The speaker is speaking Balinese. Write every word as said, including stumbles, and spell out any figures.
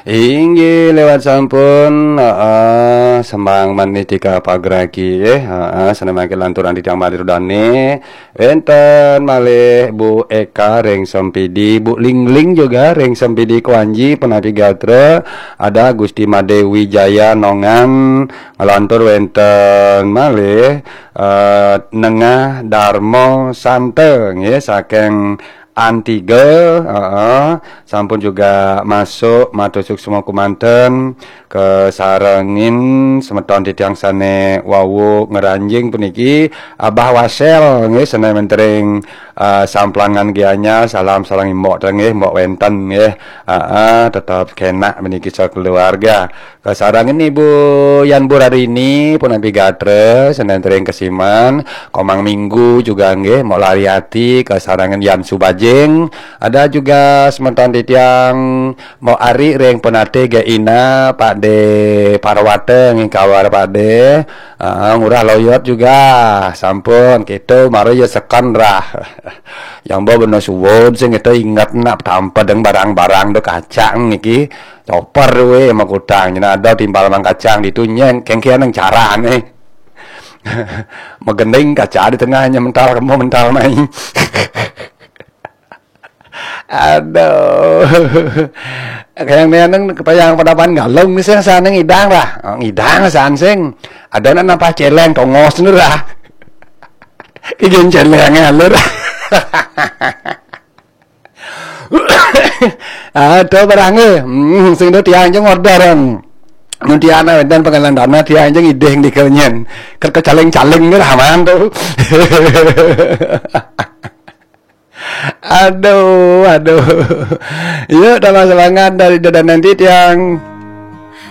Inggih lewat sampun, heeh, sembang maniti ka pagraki, eh, heeh, sané mangke lanturan titiang malih rudane, wenten malih Bu Eka ring Sempidi, Bu Lingling juga ring Sempidi Kuanji, punapi gatra, ada Gusti Made Wijaya Nongan, ngelantur wenten malih, eh, Nengah Darma Santa, nggih, saking Antiga, heeh, sampun juga masuk matur suksma kumanten kasarengin semeton titiang sane wau ngranjing puniki, Abah Wasel nggih, sane mentering, eh, Samplangan Gianyar, salam sareng Mbok nggih, Mbok wenten nggih. Heeh, tetep kenak puniki sakeluarga. Kasarengin Ibu Yan Burarini, punapi gatra, sane entering kesiman, Komang Minggu juga nggih, Mok Lariati, kasarengin Yan Subajing, ada juga semeton titiang Mok Ari ring Penate Geina, Pak De Parwata nggih kabar Pak De, ah, Ngurah Loyot juga, sampun, kita mara ya seken rah. Yang bawa bener suwun sing kita inget nak tampa deng barang-barang do kacang niki. Coper we makutang, nyena ada timpal mang kacang ditu nyeng, kengkian nang carane. Megending kaca di tengahnya mental kemo mental mai. Aduh. Kayak neneng kepayang padapan galung nih sing sana ngidang lah. Oh, ngidang san sing. Ada nak napa celeng tongos nih lah. Kigen celeng alur. Aduh barang eh. Hmm, sing do tiang jeng order. Mun tiang wenten pengelan dana tiang jeng ideh di kenyen. Ker kecaling-caling nih lah man tuh. Aduh, aduh. Yuk tambah semangat dari dada nanti tiang.